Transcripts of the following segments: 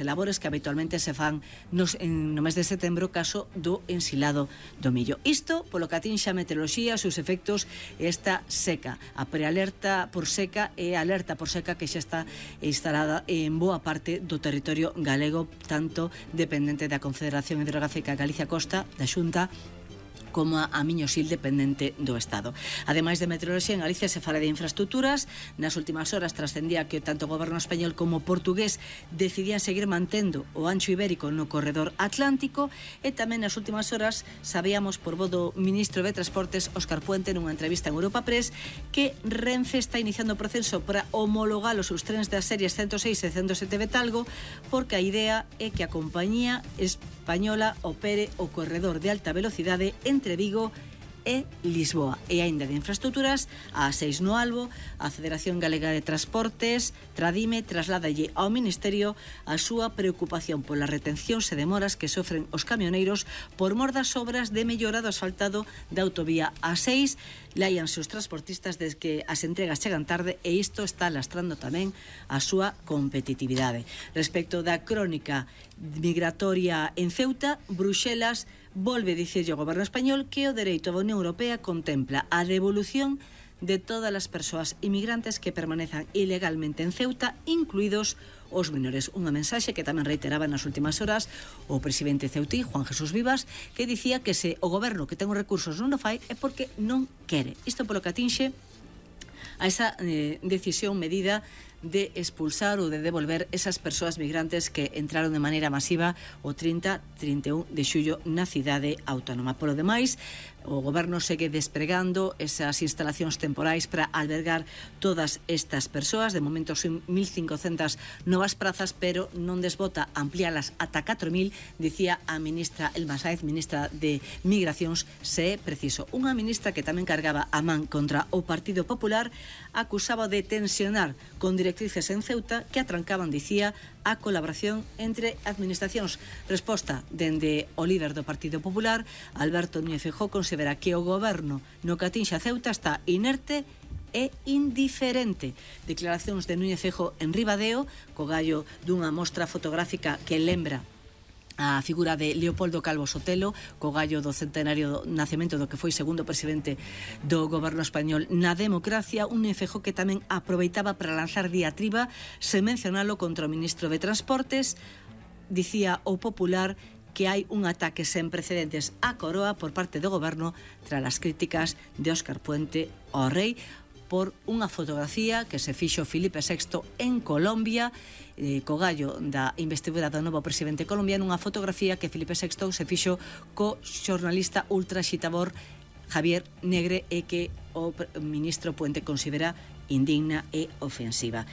labores que habitualmente se fan no mes de setembro caso do ensilado do millo. Isto polo que atinxe a meteoroloxía, os seus efectos e esta seca, a prealerta por seca e a alerta por seca que xa está instalada en boa parte do territorio galego, tanto dependente da Confederación Hidrográfica Galicia Costa, da Xunta, como a Miño-Sil, dependente do Estado. Ademais de meteoroloxía, en Galicia se fala de infraestructuras. Nas últimas horas trascendía que tanto o goberno español como o portugués decidían seguir mantendo o ancho ibérico no corredor atlántico, e tamén nas últimas horas sabíamos por voz do ministro de Transportes, Óscar Puente, nunha entrevista en Europa Press, que Renfe está iniciando o proceso para homologar os seus trens das series 106 e 107 Betalgo, porque a idea é que a compañía española opere o corredor de alta velocidade entre Vigo e Lisboa. E aínda de infraestructuras, a A6 no Albo, a Federación Galega de Transportes, Tradime, trasládalle ao Ministerio a súa preocupación polas retencións e demoras que sofren os camioneiros por mor das obras de mellora do asfaltado da autovía A6. Láianse os transportistas desde que as entregas chegan tarde, e isto está lastrando tamén a súa competitividade. Respecto da crónica migratoria en Ceuta, Bruxelas volve dicirlle ao goberno español que o dereito da Unión Europea contempla a devolución de todas as persoas inmigrantes que permanezan ilegalmente en Ceuta, incluídos os menores. Unha mensaxe que tamén reiteraba nas últimas horas o presidente ceutí, Juan Jesús Vivas, que dicía que se o goberno que ten os recursos non o fai é porque non quere. Isto polo que atinxe a esa decisión medida de expulsar ou de devolver esas persoas migrantes que entraron de maneira masiva o 30-31 de xullo na cidade autónoma. Por o demais, o goberno segue despregando esas instalacións temporais para albergar todas estas persoas. De momento son 1.500 novas prazas, pero non desbota ampliálas ata 4.000, dicía a ministra Elma Sáez, ministra de Migracións, se é preciso. Unha ministra que tamén cargaba a man contra o Partido Popular, acusaba de tensionar con directrices en Ceuta que atrancaban, dicía, a colaboración entre administracións. Resposta dende o líder do Partido Popular, Alberto Núñez Feijóo, considera que o goberno no que atinxe a Ceuta está inerte e indiferente. Declaracións de Núñez Feijóo en Ribadeo, co gallo dunha mostra fotográfica que lembra a figura de Leopoldo Calvo Sotelo, co gallo do centenario do nacemento do que foi segundo presidente do goberno español na democracia. Un Feijóo que tamén aproveitaba para lanzar diatriba, sen mencionalo, contra o ministro de Transportes. Dicía o Popular que hai un ataque sen precedentes á Coroa por parte do goberno tras as críticas de Óscar Puente ao rei por unha fotografía que se fixo Filipe VI en Colombia, co gallo da investidura do novo presidente colombiano, unha fotografía que Filipe VI se fixo co xornalista ultraxitador Javier Negre, e que o ministro Puente considera indigna e ofensiva.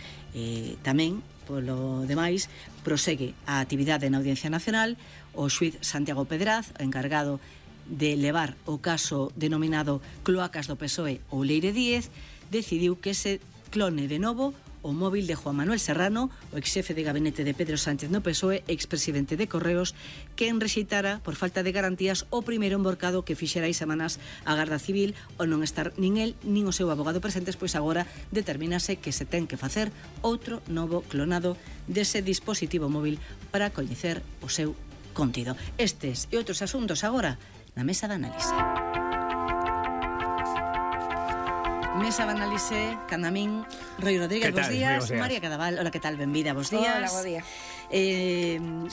Tamén, polo demais, prosegue a actividade na Audiencia Nacional. O xuíz Santiago Pedraz, encargado de levar o caso denominado Cloacas do PSOE ou Leire Díez, decidiu que se clone de novo o móvil de Juan Manuel Serrano, o exxefe de gabinete de Pedro Sánchez no PSOE, expresidente de Correos, que enrexeitara por falta de garantías o primeiro emborcado que fixera hai semanas a Garda Civil. O non estar nin el nin o seu abogado presentes, pois agora determínase que se ten que facer outro novo clonado dese dispositivo móvil para coñecer o seu contido. Estes e outros asuntos agora na Mesa de Análise. Mesa de Análise, Candamín, Roi Rodríguez, bos días. María Cadaval, hola, que tal? Benvida, bos días. Hola, bo día.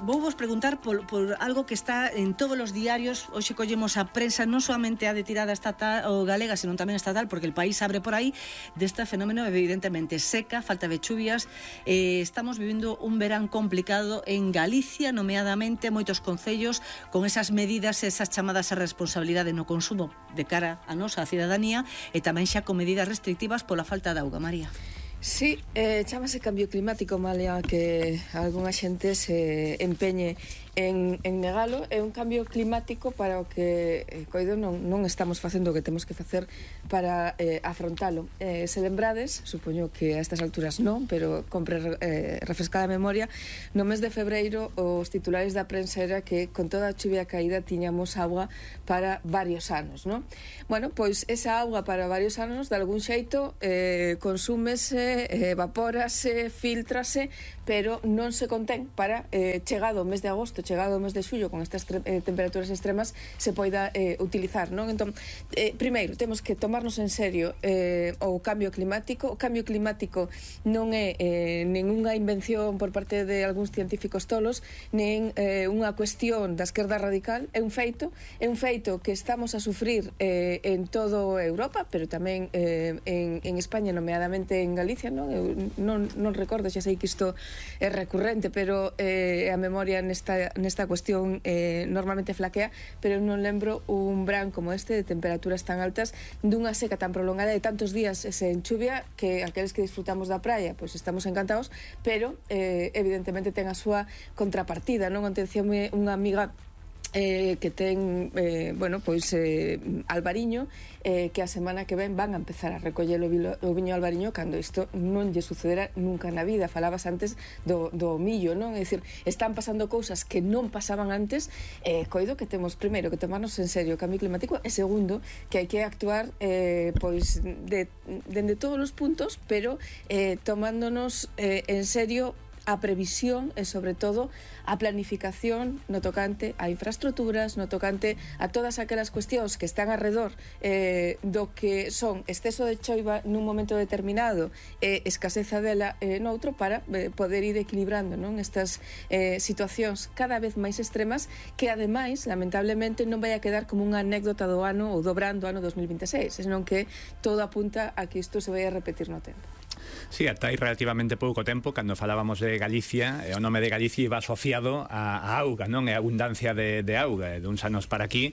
Vou vos preguntar por algo que está en todos os diarios. Hoxe collemos a prensa non solamente a de tirada estatal ou galega, sino tamén estatal, porque el país abre por aí deste fenómeno evidentemente seca, falta de chuvias. Estamos vivindo un verán complicado en Galicia, nomeadamente moitos concellos con esas medidas, esas chamadas a responsabilidade no consumo de cara a nosa a cidadanía, e tamén xa con medidas restrictivas pola falta de auga. María. Sí, chámase cambio climático, Malia, que algunha xente se empeñe en negalo. É un cambio climático para o que coido non estamos facendo o que temos que facer para afrontalo. Se lembrades, supoño que a estas alturas non, pero compre refrescada a memoria, no mes de febreiro os titulares da prensa era que con toda a chuvia caída tiñamos agua para varios anos, non? Bueno, pois esa agua para varios anos de algún xeito consúmese condensase, evapórase, filtrase, pero non se contén para chegado o mes de agosto, chegado o mes de xullo, con estas temperaturas extremas, se poida utilizar, non? Entón, primeiro, temos que tomarnos en serio o cambio climático. O cambio climático non é ninguna invención por parte de algúns científicos tolos, nen unha cuestión da esquerda radical, é un feito que estamos a sufrir en todo Europa, pero tamén en España, nomeadamente en Galicia, non? Eu non recordo, xa sei que isto é recurrente, pero a memoria nesta cuestión normalmente flaquea, pero non lembro un verán como este de temperaturas tan altas, dunha seca tan prolongada de tantos días sen chuvia, que aqueles que disfrutamos da praia pois estamos encantados, pero evidentemente ten a súa contrapartida, non? Atencióme unha amiga que ten albariño, que a semana que ven van a empezar a recoller o viño albariño, cando isto non lle sucederá nunca na vida. Falabas antes do millo, non? É dicir, están pasando cousas que non pasaban antes. Coido que temos, primeiro, que tomarnos en serio o cambio climático, e segundo, que hai que actuar dende todos os puntos, pero tomándonos en serio a previsión e, sobre todo, a planificación no tocante a infraestructuras, no tocante a todas aquelas cuestións que están alrededor do que son exceso de choiva nun momento determinado e escaseza dela noutro, para poder ir equilibrando, non, estas situacións cada vez máis extremas, que ademais, lamentablemente, non vai a quedar como unha anécdota do ano ou do verán do ano 2026, senón que todo apunta a que isto se vai a repetir no tempo. Sí, ata hai relativamente pouco tempo, cando falábamos de Galicia, o nome de Galicia iba asociado a auga, non? E a abundancia de auga. De uns anos para aquí,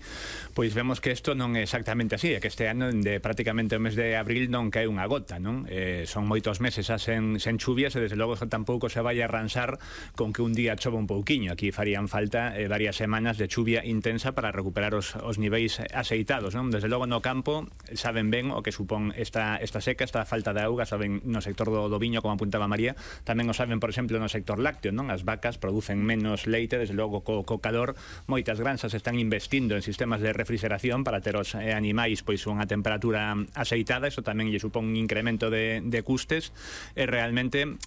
pois vemos que isto non é exactamente así, é que este ano, de prácticamente o mes de abril, non cae unha gota, non? Son moitos meses sen chuvias, e desde logo tampouco se vai a arranxar con que un día chova un pouquiño. Aquí farían falta varias semanas de chuvia intensa para recuperar os niveis aceitados, non? Desde logo no campo saben ben o que supón esta seca, esta falta de auga, saben no sector do viño, como apuntaba María, tamén o saben, por exemplo, no sector lácteo, non? As vacas producen menos leite, desde logo co calor. Moitas granxas están investindo en sistemas de refrigeración para ter os animais pois unha temperatura aceitada. Iso tamén lle supón un incremento de custes, e realmente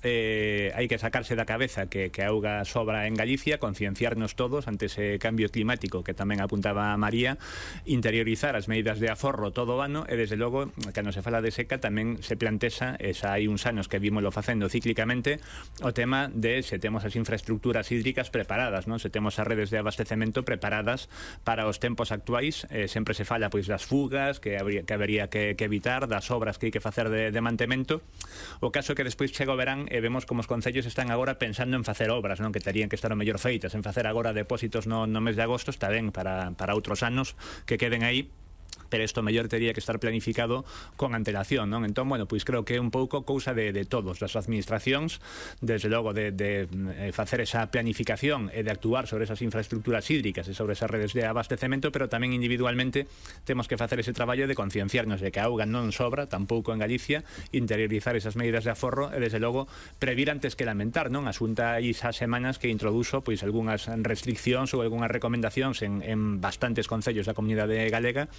hai que sacarse da cabeza que a auga sobra en Galicia, concienciarnos todos ante ese cambio climático que tamén apuntaba María, interiorizar as medidas de aforro todo o ano, e desde logo, cando se fala de seca, tamén se plantexa, hai uns anos que vímoslo facendo cíclicamente, o tema de se temos as infraestructuras hídricas preparadas, non? Se temos as redes de abastecemento preparadas para os tempos actuais. Sempre se fala pois das fugas que habería que evitar, das obras que hai que facer de mantemento. O caso é que despois chega o verán e vemos como os concellos están agora pensando en facer obras, non? Que terían que estar o mellor feitas, en facer agora depósitos no mes de agosto. Está ben para outros anos que queden aí, pero isto mellor tería que estar planificado con antelación, non? Entón, bueno, pois creo que é un pouco cousa de todos, das administracións, desde logo de facer esa planificación e de actuar sobre esas infraestructuras hídricas e sobre esas redes de abastecemento, pero tamén individualmente temos que facer ese traballo de concienciarnos de que a auga non sobra, tampouco en Galicia, interiorizar esas medidas de aforro e, desde logo, previr antes que lamentar, non? A Xunta hai xa semanas que introduxo pois algunhas restriccións ou algunhas recomendacións en bastantes concellos da comunidade galega.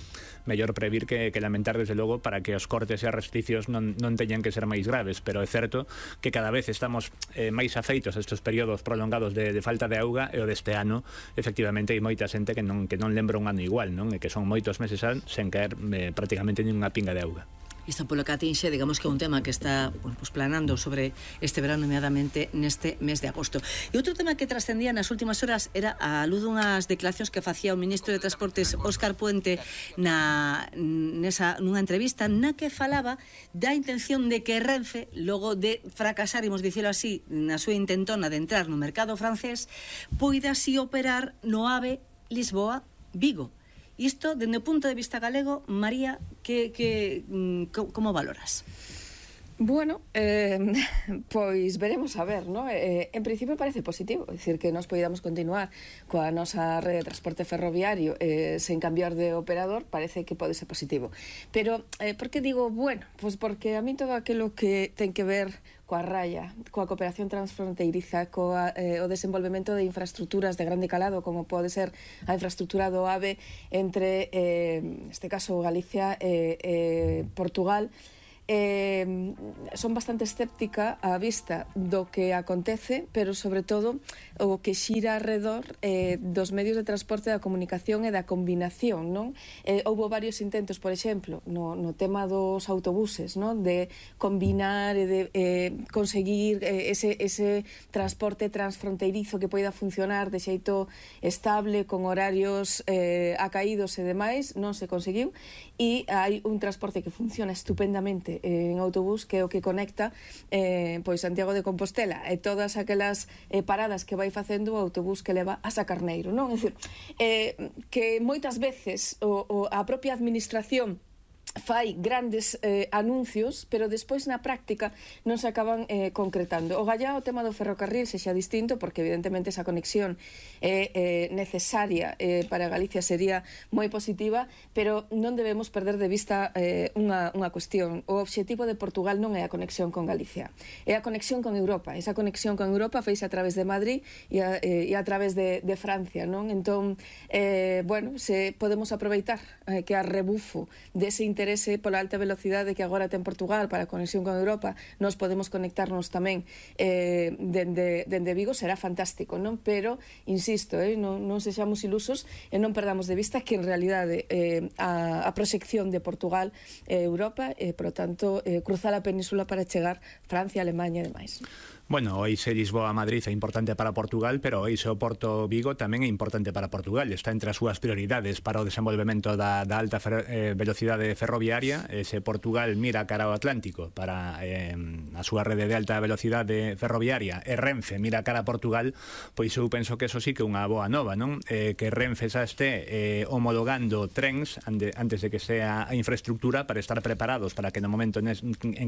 Mellor previr que lamentar, desde logo, para que os cortes e as restriccións non teñan que ser máis graves, pero é certo que cada vez estamos máis afeitos a estes períodos prolongados de falta de auga, e o deste ano, efectivamente, hai moita xente que non lembra un ano igual, non? E que son moitos meses sen caer prácticamente nin unha pinga de auga. Isto polo que atinxe, digamos que é un tema que está planando sobre este verano, nomeadamente neste mes de agosto. E outro tema que trascendía nas últimas horas era a luz dunhas declaracións que facía o ministro de Transportes, Óscar Puente, nunha entrevista na que falaba da intención de que Renfe, logo de fracasar, imos dicilo así, na súa intentona de entrar no mercado francés, poida así operar no AVE Lisboa-Vigo. Isto, dende o punto de vista galego, María, como valoras? Bueno, pois veremos a ver, non? En principio parece positivo, é dicir, que nos poidamos continuar coa nosa rede de transporte ferroviario sen cambiar de operador, parece que pode ser positivo. Pero, por que digo bueno? Pois porque a mí todo aquilo que ten que ver coa raya, coa cooperación transfronteiriza, o desenvolvemento de infraestructuras de grande calado, como pode ser a infraestructura do AVE entre, neste caso, Galicia e Portugal, son bastante escéptica á vista do que acontece, pero sobre todo o que xira alrededor dos medios de transporte, da comunicación e da combinación, non? Houbo varios intentos, por exemplo, no tema dos autobuses, non? De combinar e de conseguir ese transporte transfronteirizo que poida funcionar de xeito estable, con horarios acaídos e demais, non se conseguiu, e hai un transporte que funciona estupendamente en autobús, que é o que conecta pois Santiago de Compostela e todas aquelas paradas que vai facendo o autobús que leva a Sacarneiro, non? É dicir, que moitas veces a propia administración fai grandes anuncios, pero despois na práctica non se acaban concretando. O gallá o tema do ferrocarril sexa distinto, porque evidentemente esa conexión é necesaria para Galicia, sería moi positiva, pero non debemos perder de vista unha cuestión. O obxectivo de Portugal non é a conexión con Galicia, é a conexión con Europa. Esa conexión con Europa feise a través de Madrid e a través de Francia, non? Entón, bueno, se podemos aproveitar que a rebufo dese interese pola alta velocidade que agora ten Portugal para a conexión con Europa, nos podemos conectarnos tamén dende Vigo, será fantástico, non? Pero, insisto, non sexamos ilusos e non perdamos de vista que en realidade a proxección de Portugal é Europa e, por tanto, cruzar a península para chegar Francia, Alemanha e demais. Bueno, o eixo Lisboa-Madrid é importante para Portugal, pero o eixo Porto-Vigo tamén é importante para Portugal. Está entre as súas prioridades para o desenvolvemento da alta velocidade ferroviaria. Se Portugal mira cara ao Atlántico para a súa rede de alta velocidade ferroviaria e Renfe mira cara a Portugal, pois eu penso que eso sí que é unha boa nova, non? Que Renfe xa este homologando trens antes de que sea a infraestructura, para estar preparados para que no momento en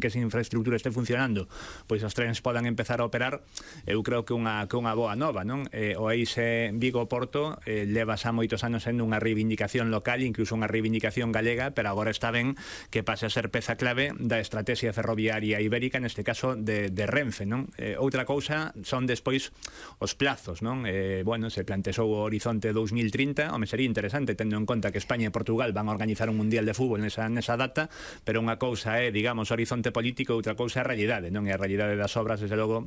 que esa infraestructura este funcionando, pois os trens podan empezar a operar. Eu creo que unha boa nova, non? O eixe Vigo-Porto leva xa moitos anos sendo unha reivindicación local, incluso unha reivindicación galega, pero agora está ben que pase a ser peza clave da estrategia ferroviaria ibérica, neste caso de Renfe, non? Outra cousa son despois os plazos, non? Bueno, se plantexou o horizonte 2030, home, sería interesante tendo en conta que España e Portugal van a organizar un mundial de fútbol nesa data, pero unha cousa é, digamos, horizonte político, outra cousa é a realidade, non? E a realidade das obras, desde logo,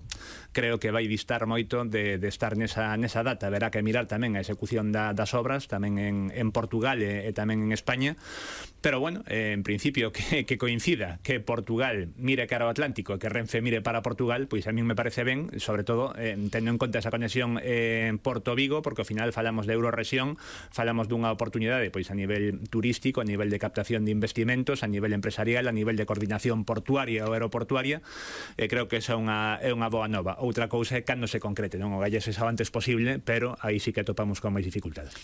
creo que vai distar moito de estar nesa data. Verá que mirar tamén a execución das obras, tamén en Portugal e tamén en España, pero bueno, en principio que coincida que Portugal mire cara ao Atlántico e que Renfe mire para Portugal, pois a mí me parece ben, sobre todo tendo en conta esa conexión Porto-Vigo, porque ao final falamos de Eurorrexión, falamos dunha oportunidade pois a nivel turístico, a nivel de captación de investimentos, a nivel empresarial, a nivel de coordinación portuaria ou aeroportuaria, e creo que esa é unha boa nova. Outra cousa é cando se concrete, non? O gallese xa o antes posible, pero aí sí que topamos con máis dificultades.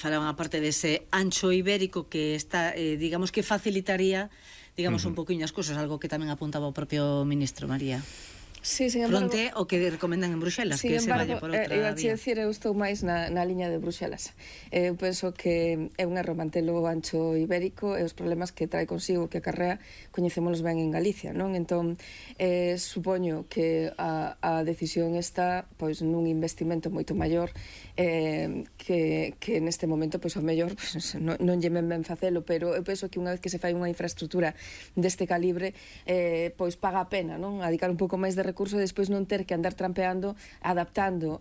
Falaban aparte dese ancho ibérico que está, digamos que facilitaría, digamos, un poquinho as cousas, algo que tamén apuntaba o propio ministro María. Sí, sin embargo, fronte o que recomendan en Bruxelas, que se vaya por outra vía. Eu estou máis na liña de Bruxelas. Eu penso que é un erro mantelo ancho ibérico e os problemas que trae consigo, que acarrea, coñecémonos ben en Galicia, non? Entón, supoño que a decisión está pois nun investimento moito maior que neste momento, pois, ao mellor non lle ben facelo, pero eu penso que unha vez que se fai unha infraestructura deste calibre, pois paga a pena, non? Adicar un pouco máis de recurso e despois non ter que andar trampeando, adaptando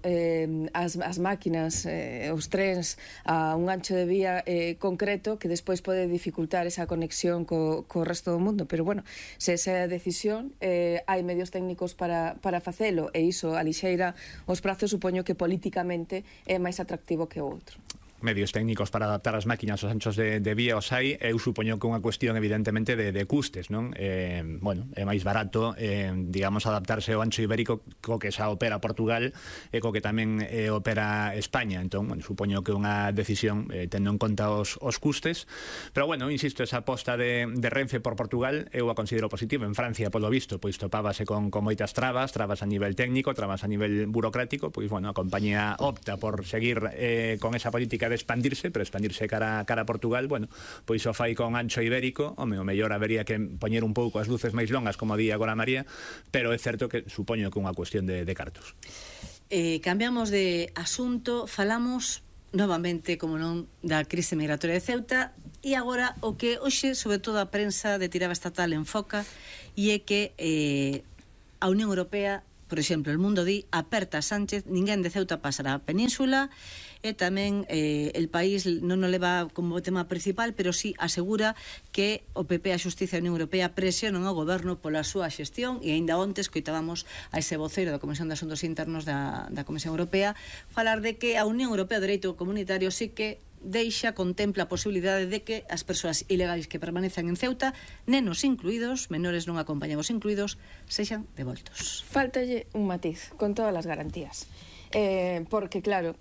as máquinas, os trens a un ancho de vía concreto que despois pode dificultar esa conexión co resto do mundo. Pero bueno, se esa decisión, hai medios técnicos para facelo, e iso alixeira os prazos, supoño que políticamente é máis atractivo que o outro. Medios técnicos para adaptar as máquinas aos anchos de vía os hai. Eu supoño que unha cuestión evidentemente de custes, non? Bueno, é máis barato, digamos, adaptarse ao ancho ibérico co que xa opera Portugal e co que tamén opera España. Entón, bueno, supoño que unha decisión tendo en conta os custes, pero bueno, insisto, esa aposta de Renfe por Portugal eu a considero positivo. En Francia, polo visto, pois topábase con moitas trabas a nivel técnico, trabas a nivel burocrático, pois bueno, a compañía opta por seguir con esa política de expandirse, pero expandirse cara a Portugal, bueno, pois o fai con ancho ibérico. O mellor habería que poñer un pouco as luces máis longas, como di agora María, pero é certo que supoño que é unha cuestión de cartos. Cambiamos de asunto, falamos novamente, como non, da crise migratoria de Ceuta, e agora o que hoxe, sobre todo a prensa de tirada estatal enfoca, e é que a Unión Europea, por exemplo, el Mundo di, aperta a Sánchez, ninguén de Ceuta pasará a península, e tamén el país non o leva como tema principal, pero sí asegura que o PP, a Xustiza e a Unión Europea presionan ao goberno pola súa xestión, e aínda onte escoitábamos a ese voceiro da Comisión de Asuntos Internos da Comisión Europea falar de que a Unión Europea do Dereito Comunitario sí que contempla a posibilidade de que as persoas ilegais que permanecen en Ceuta, nenos incluídos, menores non acompañados incluídos, sexan devoltos. Faltalle un matiz, con todas as garantías. Porque, claro,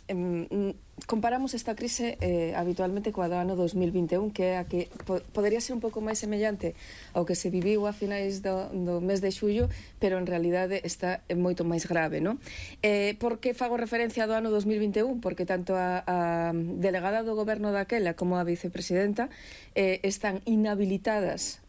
comparamos esta crise habitualmente coa do ano 2021, que é a que podería ser un pouco máis semellante ao que se viviu a finais do mes de xullo, pero en realidade está moito máis grave, non? Por que fago referencia do ano 2021? Porque tanto a delegada do goberno daquela como a vicepresidenta están inhabilitadas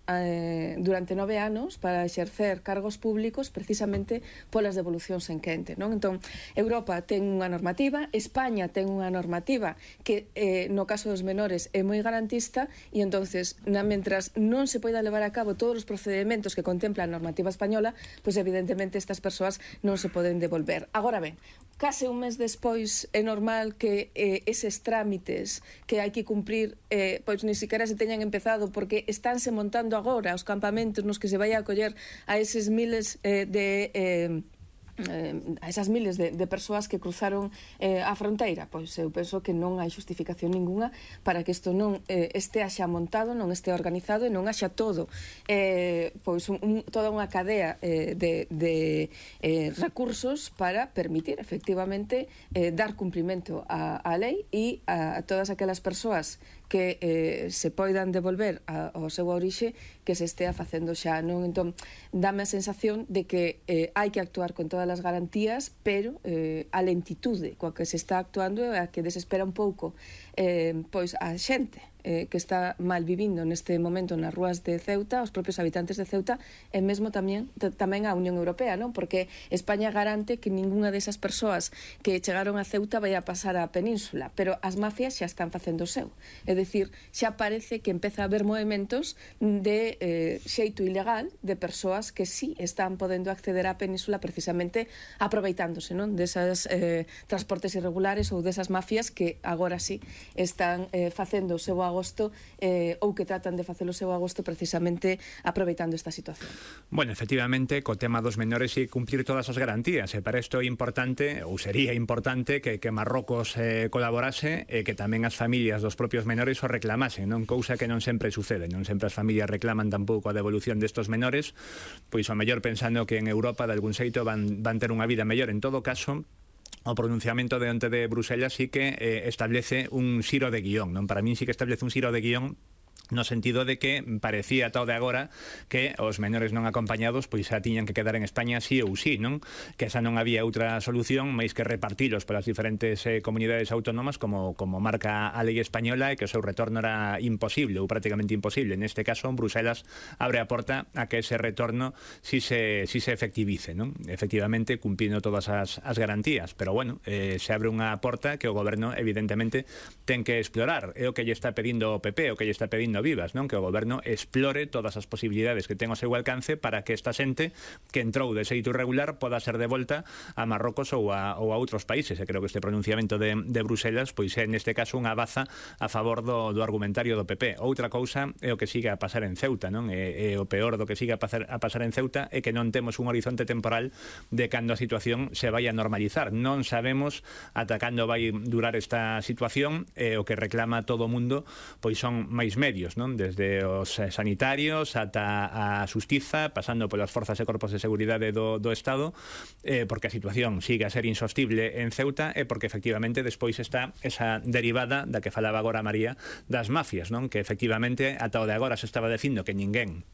durante 9 anos para exercer cargos públicos precisamente polas devolucións en quente, non? Entón, Europa ten unha normativa, España ten unha normativa que no caso dos menores é moi garantista, e entonces, mentras non se poida levar a cabo todos os procedimentos que contempla a normativa española, pois evidentemente estas persoas non se poden devolver. Agora ben, case un mes despois é normal que eses trámites que hai que cumprir pois ni siquiera se teñan empezado, porque estánse montando agora os campamentos nos que se vai a acoller a eses miles a esas miles de persoas que cruzaron a fronteira. Pois eu penso que non hai justificación ninguna para que isto non estea xa montado, non estea organizado e non haxa todo pois toda unha cadea de recursos para permitir efectivamente dar cumprimento á lei e a todas aquelas persoas que se poidan devolver ao seu orixe, que se estea facendo xa, non? Entón, dame a sensación de que hai que actuar con todas as garantías, pero a lentitude coa que se está actuando é a que desespera un pouco pois a xente que está mal vivindo neste momento nas rúas de Ceuta, os propios habitantes de Ceuta, e mesmo tamén a Unión Europea, non? Porque España garante que ningunha desas persoas que chegaron a Ceuta vai a pasar á península, pero as mafias xa están facendo o seu. É dicir, xa parece que empeza a haber movimentos de xeito ilegal de persoas que sí están podendo acceder á península precisamente aproveitándose, non? Desas transportes irregulares ou desas mafias que agora sí están facendo o seu agosto ou que tratan de facer o seu agosto precisamente aproveitando esta situación. Bueno, efectivamente, co tema dos menores e cumplir todas as garantías, e para isto é importante, ou sería importante, que Marrocos colaborase e que tamén as familias dos propios menores o reclamasen, non? Cousa que non sempre sucede, non sempre as familias reclaman tampouco a devolución destos menores, pois o mellor pensando que en Europa de algún xeito van ter unha vida mellor. En todo caso, o pronunciamento de onte de Bruselas sí que establece un xiro de guión, non? Para min sí que establece un xiro de guión no sentido de que parecía ata o de agora que os menores non acompañados pois xa tiñan que quedar en España sí ou sí, non? Que esa non había outra solución máis que repartilos polas diferentes comunidades autónomas como marca a lei española, e que o seu retorno era imposible ou prácticamente imposible. Neste caso, Bruselas abre a porta a que ese retorno si se efectivice, non? Efectivamente, cumprindo todas as garantías, pero bueno, se abre unha porta que o goberno evidentemente ten que explorar. É o que lle está pedindo o PP, o que lle está pedindo Vivas, non? Que o goberno explore todas as posibilidades que ten ao seu alcance para que esta xente que entrou de xeito irregular poda ser devolta a Marrocos ou a outros países. E creo que este pronunciamento de Bruselas pois é neste caso unha baza a favor do argumentario do PP. Outra cousa é o que siga a pasar en Ceuta, non? E o peor do que siga a pasar en Ceuta é que non temos un horizonte temporal de cando a situación se vai a normalizar. Non sabemos ata cando vai durar esta situación, e o que reclama todo o mundo pois son máis medios, non? Desde os sanitarios ata a xustiza, pasando polas forzas e corpos de seguridade do Estado, porque a situación sigue a ser insostible en Ceuta, e porque efectivamente despois está esa derivada da que falaba agora María das mafias, non? Que efectivamente ata o de agora se estaba dicindo que ninguén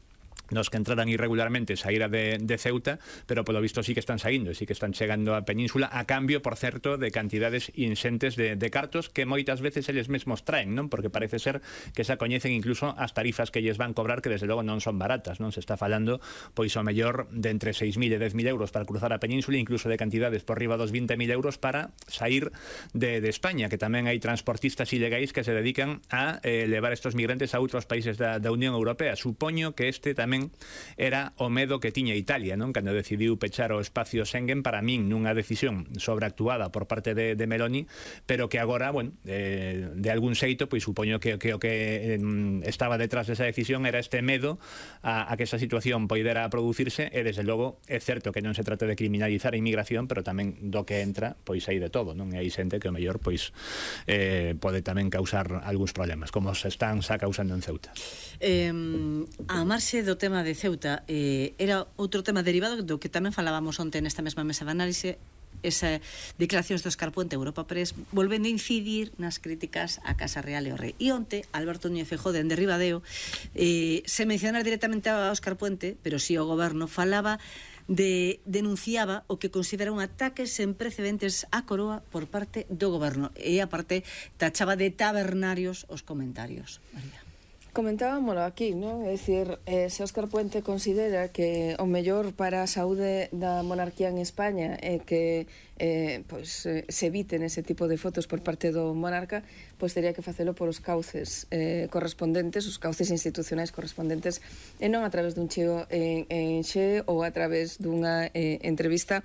nos que entraran irregularmente saíra de Ceuta, pero polo visto sí que están saindo, sí que están chegando á península a cambio, por certo, de cantidades inxentes de cartos que moitas veces eles mesmos traen, non? Porque parece ser que xa coñecen incluso as tarifas que lles van cobrar, que desde logo non son baratas, non? Se está falando, pois ao mellor de entre 6.000 e 10.000 euros para cruzar a península, incluso de cantidades por riba dos 20.000 euros para sair de España, que tamén hai transportistas ilegais que se dedican a levar estos migrantes a outros países da Unión Europea. Supoño que este tamén era o medo que tiña Italia, non? Cando decidiu pechar o espacio Schengen, para min nunha decisión sobreactuada por parte de Meloni, pero que agora, bueno, de algún xeito, pois supoño que o que estaba detrás desa decisión era este medo a que esa situación poidera producirse, e desde logo é certo que non se trata de criminalizar a inmigración, pero tamén do que entra, pois hai de todo, non? E hai xente que o mellor pois pode tamén causar algúns problemas, como se están xa causando en Ceuta. A marxe do tema de Ceuta, era outro tema derivado do que tamén falábamos onte nesta mesma mesa de análise, esa declaracións do Óscar Puente, Europa Press, volvendo a incidir nas críticas a Casa Real e ao Rei. E onte, Alberto Núñez Feijóo, dende Ribadeo, se mencionar directamente a Óscar Puente, pero si o goberno falaba denunciaba o que considera un ataque sen precedentes á coroa por parte do goberno, e a parte tachaba de tabernarios os comentarios. María. Comentábamolo aquí, non? É dicir, se Óscar Puente considera que o mellor para a saúde da monarquía en España é que se eviten ese tipo de fotos por parte do monarca, pois teria que facelo por os cauces correspondentes, os cauces institucionais correspondentes, e non a través dun cheo en xe ou a través dunha entrevista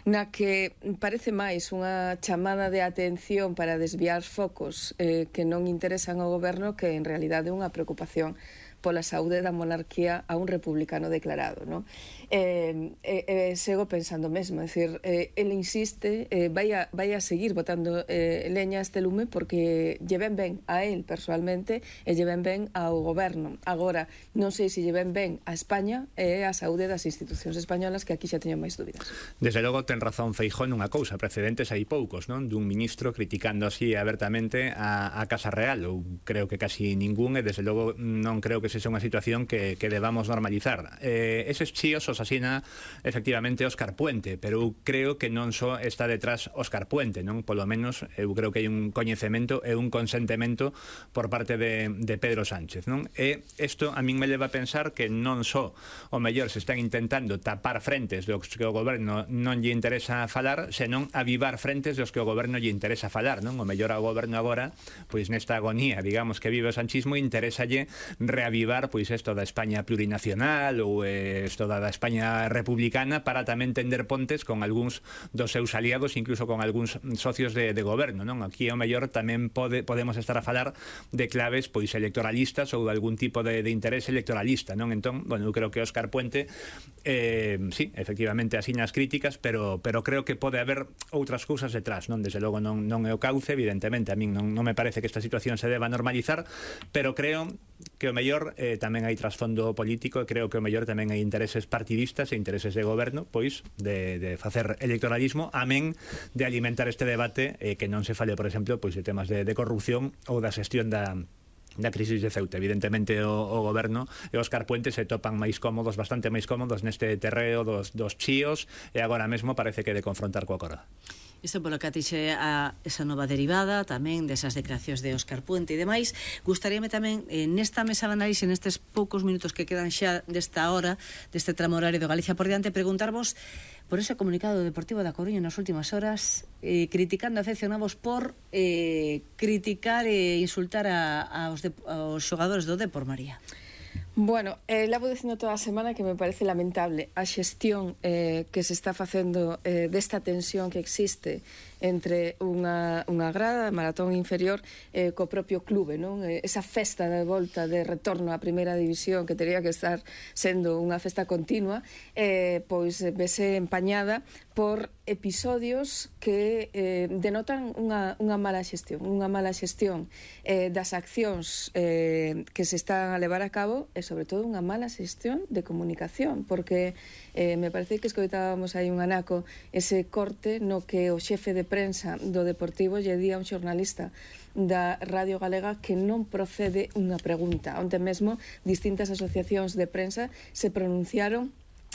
na que parece máis unha chamada de atención para desviar focos que non interesan ao goberno, que en realidade é unha preocupación pola saúde da monarquía a un republicano declarado, non? Sego pensando mesmo, é dicir, ele insiste, vai a seguir botando leña a este lume porque lle ven ben a él personalmente e lle ven ben ao goberno. Agora, non sei se lle ven ben a España e a saúde das institucións españolas, que aquí xa teño máis dúbidas. Desde logo ten razón Feijóo nunha cousa, precedentes hai poucos, non? Dun ministro criticando así abertamente a Casa Real, ou creo que casi ningún, e desde logo non creo que sexa unha situación que debamos normalizar. Eses chíos os asina efectivamente Óscar Puente, pero eu creo que non só está detrás Óscar Puente, non? Polo menos eu creo que hai un coñecemento e un consentemento por parte de Pedro Sánchez, non? E isto a min me leva a pensar que non só o mellor se están intentando tapar frentes dos que o goberno non lle interesa falar, senón avivar frentes dos que o goberno lle interesa falar, non? O mellor ao goberno agora, pois nesta agonía, digamos, que vive o sanchismo, interesalle reavivar pois isto da España plurinacional ou isto da España republicana, para tamén tender pontes con algúns dos seus aliados, incluso con algúns socios de goberno, non? Aquí ao mellor tamén podemos estar a falar de claves pois electoralistas ou de algún tipo de interés electoralista, non? Entón, bueno, eu creo que Óscar Puente sí, efectivamente asina as críticas, pero creo que pode haber outras cousas detrás, non? Desde logo non é o cauce, evidentemente a min non me parece que esta situación se deba normalizar, pero creo que o mellor tamén hai trasfondo político, e creo que o mellor tamén hai intereses partidistas e intereses de goberno, pois de facer electoralismo, amén de alimentar este debate, que non se fale, por exemplo, pois de temas de corrupción ou da xestión da crisis de Ceuta. Evidentemente o goberno e Óscar Puente se topan máis cómodos, bastante máis cómodos neste terreo dos chíos, e agora mesmo parece que de confrontar coa coroa. Isto polo que atixe a esa nova derivada tamén desas declaracións de Óscar Puente e demais. Gustaríame tamén nesta mesa de análise, nestes poucos minutos que quedan xa desta hora, deste tramo horario de Galicia por diante, preguntarvos por ese comunicado Deportivo da Coruña nas últimas horas, criticando a aficionados por criticar e insultar aos xogadores do Depor, María. Bueno, levo dicindo toda a semana que me parece lamentable a xestión que se está facendo desta tensión que existe entre unha grada, maratón inferior, co propio clube, non? Esa festa de volta de retorno á primeira división, que teria que estar sendo unha festa continua, pois vese empañada por episodios que denotan unha mala xestión das accións que se están a levar a cabo, e sobre todo unha mala xestión de comunicación, porque me parece que escoitábamos aí un anaco ese corte no que o xefe de prensa do Deportivo lle di a un xornalista da Radio Galega que non procede unha pregunta. Onte mesmo distintas asociacións de prensa se pronunciaron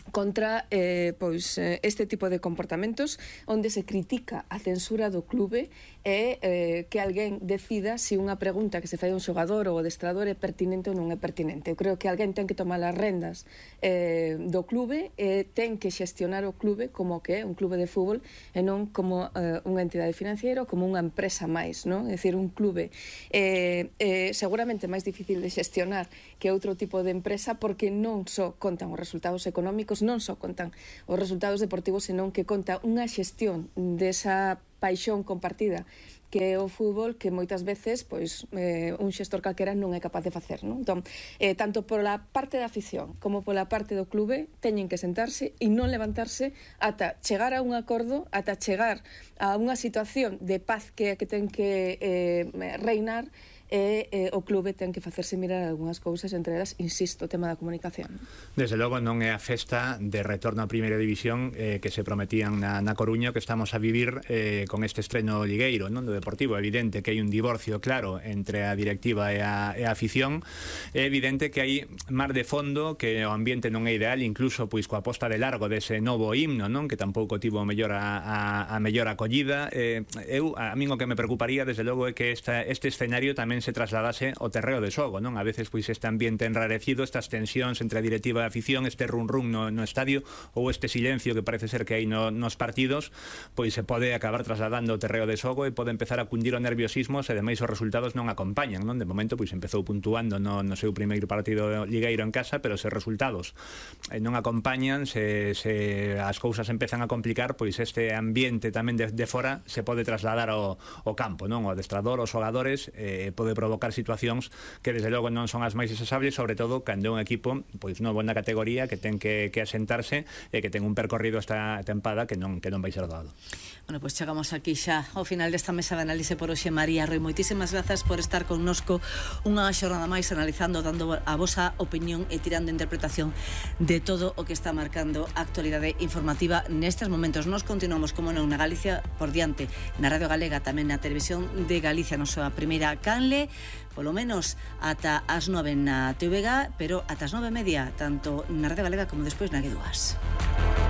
contra este tipo de comportamentos onde se critica a censura do clube e que alguén decida se unha pregunta que se fai a un xogador ou adestrador é pertinente ou non é pertinente. Eu creo que alguén ten que tomar as rendas do clube e ten que xestionar o clube como que é un clube de fútbol e non como unha entidade financiera ou como unha empresa máis, non? É dicir, un clube seguramente máis difícil de xestionar que outro tipo de empresa porque non só contan os resultados económicos, non só contan os resultados deportivos, senón que conta unha xestión desa paixón compartida que é o fútbol que moitas veces un xestor calquera non é capaz de facer, non? Entón, tanto pola parte da afición como pola parte do clube teñen que sentarse e non levantarse ata chegar a un acordo, ata chegar a unha situación de paz que ten que reinar e o clube ten que facerse mirar algunhas cousas, entre elas, insisto, o tema da comunicación. Desde logo non é a festa de retorno a Primeira División que se prometían na Coruña que estamos a vivir con este estreno ligueiro, non, do Deportivo. É evidente que hai un divorcio claro entre a directiva e a afición. É evidente que hai mar de fondo, que o ambiente non é ideal, incluso pois coa posta de largo dese novo himno, non, que tampouco tivo mellor a mellor acollida. A min o que me preocuparía, desde logo, é que este escenario tamén se trasladase ao terreo de xogo, non? A veces pois este ambiente enrarecido, estas tensións entre a directiva e a afición, este run-run no estadio ou este silencio que parece ser que hai nos partidos, pois se pode acabar trasladando ao terreo de xogo e pode empezar a cundir o nerviosismo se ademais os resultados non acompañan, non? De momento pois empezou puntuando no seu primeiro partido ligueiro en casa, pero se os resultados non acompañan, se as cousas empezan a complicar, pois este ambiente tamén de fora se pode trasladar ao campo, non? O adestrador, os xogadores, pode provocar situacións que desde logo non son as máis deseables, sobre todo cando é un equipo pois novo na categoría que ten que asentarse e que ten un percorrido esta tempada que non vai ser doado. Bueno, pois chegamos aquí xa ao final desta mesa de análise por hoxe. María Roi, moitísimas grazas por estar connosco unha xornada máis analizando, dando a vosa opinión e tirando interpretación de todo o que está marcando a actualidade informativa nestes momentos. Nos continuamos, como non, na Galicia por diante, na Radio Galega, tamén na Televisión de Galicia, na súa primeira canle, polo menos ata as 9 na TVG, pero ata as 9:30, tanto na Radio Galega como despois na G2.